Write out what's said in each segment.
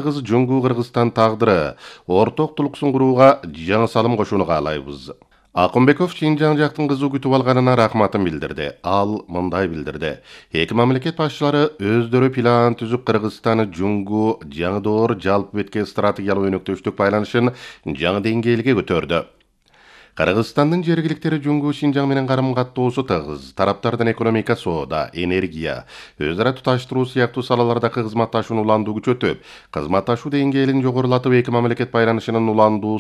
Кыз Жунгу Кыргызстан тагдыры орток тулуксун курууга жаңы салым кошууну каалайбыз. Акынбеков Шинжаң жактын кызы күтүп алганына рахматын билдирди. Ал мындай билдирди. Эки мамлекет башчылары өздөрү план түзүп Кыргызстан Жунгу жаңы доор жалпы бетке стратегиялык өнөктөштүк байланышын жаңы деңгээлге көтөрдү. Кыргызстандын жергиликтери Жунгу Шинжаң менен карым-каттоосу тыгыз. Тараптардын экономика, соода, энергия, өз ара туташтыруу сыяктуу салалардагы кызматташууну уландуу күчөтүп, кызматташуу деңгээлин жогорулатып, эки мамлекет байланышынын уландуу,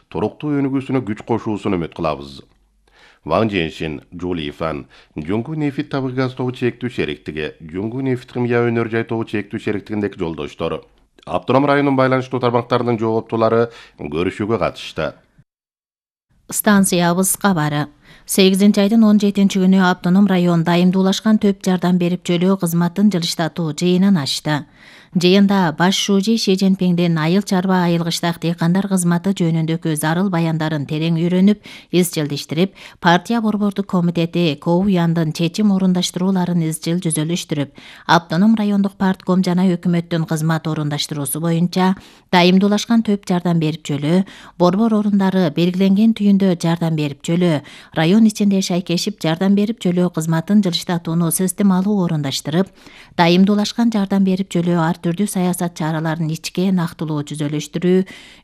туруктуу өнүгүүсүнө күч кошуусун үмүт кылабыз. Ван Женшин, Жули Фан, Жунгу нефит табык газ тобу чектүү шериктиги, Жунгу нефит химия өнөр жай тобу чектүү шериктигиндеки жолдоштору. Автоном районунун байланыштуу тармактарынын жооптулары көрүшүүгө катышты. Станциябыз кабары. 8-айдын 17-күнү автоном район дайымдуулашкан төп жардам берип жөлөө кызматын жылыштатуу жыйынын ачты. Жыйында баш шужи Ши Цзиньпиңдин айыл чарба айылгыштак дыйкандар кызматы жөнүндөгү зарыл баяндарын терең үйрөнүп, изчилдештирип, партия борбордук комитети КОУЯндын чечим орундаштырууларын изчил жүзөлүштүрүп, автоном райондук партком жана өкмөттүн кызмат орундаштыруусу боюнча дайымдуулашкан төп жардам берип жөлөө, борбор орундары белгиленген түйүндө жардам берип жөлөө, район ичинде шайкешип жардам берип жөлөө кызматын жылыштатууну системалуу орундаштырып, дайымдуулашкан жардам берип жөлөө ар түрдүү саясат чараларын ичке нактылуу жүзөлүштүрүү,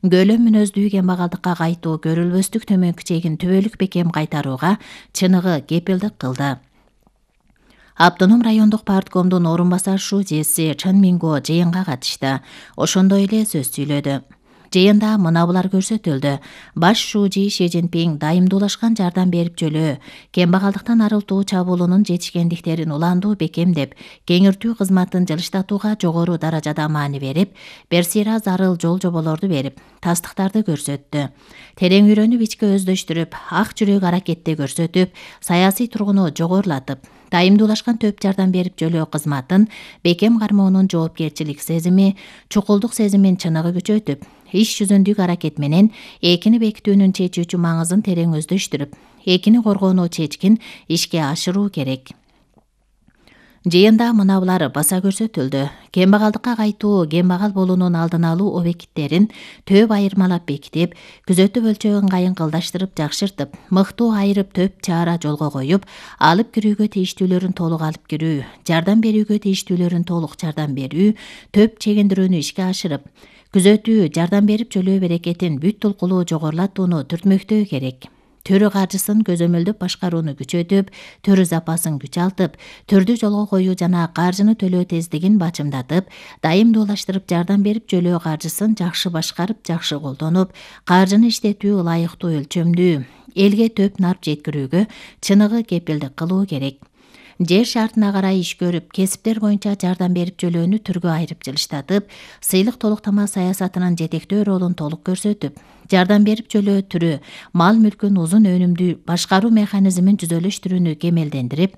көлөм мүнөздүү кембагалдыкка кайтуу көрүлбөстүк төмөнкү чегин түбөлүк бекем кайтарууга чыныгы кепилдик кылды. Автоном райондук парткомдун орун басар шужиси Чын Минго жыйынга катышты. Ошондой эле сөз сүйлөдү. Жыйында мына булар көрсөтүлдү. Баш шужи Ши Цзиньпиң дайымдуулашкан жардам берип жөлөө, кембагалдыктан арылтуу чабуулунун жетишкендиктерин уландуу бекемдеп, кеңиртүү кызматын жылыштатууга жогору даражада маани берип, берсира зарыл жол жоболорду берип, тастыктарды көрсөттү. Терең үйрөнүп, ичке өздөштүрүп, ак жүрөк аракетти көрсөтүп, саясий тургуну жогорулатып, дайымдуулашкан төп жардам берип жөлөө кызматын бекем кармоонун жоопкерчилик сезими, чукулдук сезимин чыныгы күчөтүп, иш жүзүндүк аракет менен экини бекитүүнүн чечүүчү маңызын терең өздөштүрүп, экини коргоону чечкин ишке ашыруу керек. Жыйында мына булар баса көрсөтүлдү. Кембагалдыкка кайтуу, кембагал болуунун алдын алуу объекттерин төп айырмалап бекитип, күзөтүү өлчөгү ыңгайын кылдаштырып жакшыртып, мыктуу айырып төп чара жолго коюп, алып кирүүгө тийиштүүлөрүн толук алып кирүү, жардам берүүгө тийиштүүлөрүн толук жардам берүү, төп чегиндирүүнү ишке ашырып, күзөтүү, жардам берип жөлөө берекетин бүт тулкулуу жогорулатууну түртмөктөө керек. Төрү каржысын көзөмөлдөп башкарууну күчөтүп, төрү запасын күчалтып, төрдү жолго коюу жана каржыны төлөө тездигин бачымдатып, дайымдуулаштырып жардам берип жөлөө каржысын жакшы башкарып, жакшы колдонуп, каржыны иштетүү ылайыктуу өлчөмдүү, элге төп нарп жеткирүүгө чыныгы кепилдик кылуу керек. Жер шартына карай иш көрүп, кесиптер боюнча жардам берип жөлөөнү түргө айырып жылыштатып, сыйлык толуктама саясатынын жетектөө ролун толук көрсөтүп, жардам берип жөлөө түрү, мал мүлкүн узун өнүмдүү башкаруу механизмин жүзөлүштүрүүнү кемелдендирип,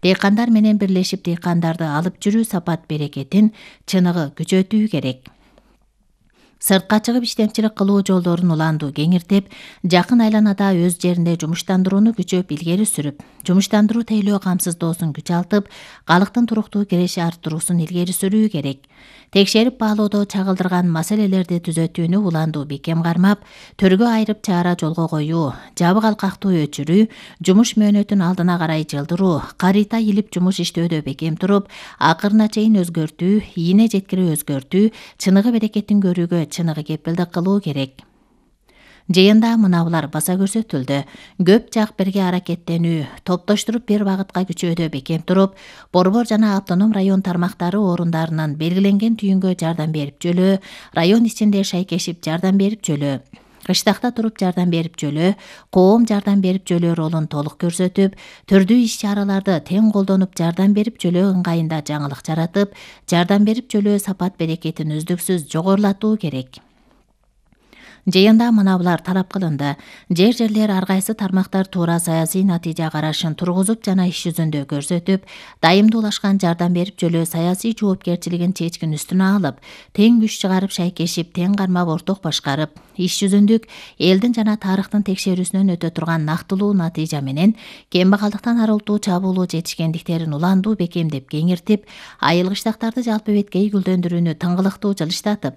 дыйкандар менен бирлешип дыйкандарды алып жүрүү сапат берекетин чыныгы күчөтүү керек. Сыртка чыгып иштемчилик кылуу жолдорун уландуу кеңиртип, жакын айланада өз жеринде жумуштандырууну күчөп илгери сүрүп, жумуштандыруу тейлөө камсыздоосун күчалтып, калктын туруктуу киреше арттыруусун илгери сүрүү керек. Текшерип баалоодо чагылдырган маселелерди түзөтүүнү уландуу бекем кармап, төргө айырып чара жолго коюу, жабык алкактуу өчүрүү, жумуш мөөнөтүн алдына карай жылдыруу, карыйта илип жумуш иштөөдө бекем туруп, акырына чейин өзгөртүү, ийине жеткире өзгөртүү, чыныгы берекетин көрүүгө чыныгы кепилдик кылуу керек. Жыйында мына булар баса көрсөтүлдү. Көп жак бирге аракеттенүү, топтоштуруп бир багытка күчөөдө бекем туруп, борбор жана автоном район тармактары орундарынын белгиленген түйүнгө жардам берип жөлөө, район ичинде шайкешип жардам берип жөлөө, кыштакта туруп жардам берип жөлөө, коом жардам берип жөлөө ролун толук көрсөтүп, түрдүү иш чараларды тең колдонуп жардам берип жөлөө ыңгайында жаңылык жаратып, жардам берип жөлөө сапат берекетин үздүксүз жогорулатуу керек. Жыйында мына булар талап кылынды. Жерлер ар кайсы тармактар туура саясий натыйжа карашын тургузуп жана иш жүзүндө көрсөтүп, дайымдуулашкан жардам берип жөлөө саясий жоопкерчилигин чечкин үстүнө алып, тең күч чыгарып шайкешип, тең кармап орток башкарып, иш жүзүндүк элдин жана тарыхтын текшерүүсүнөн өтө турган нактылуу натыйжа менен кембагалдыктан арылтуу чабуулуу жетишкендиктерин уландуу бекемдеп кеңиртип, айылгычтактарды жалпы беткей гүлдөндүрүүнү тыңгылыктуу жылыштатып,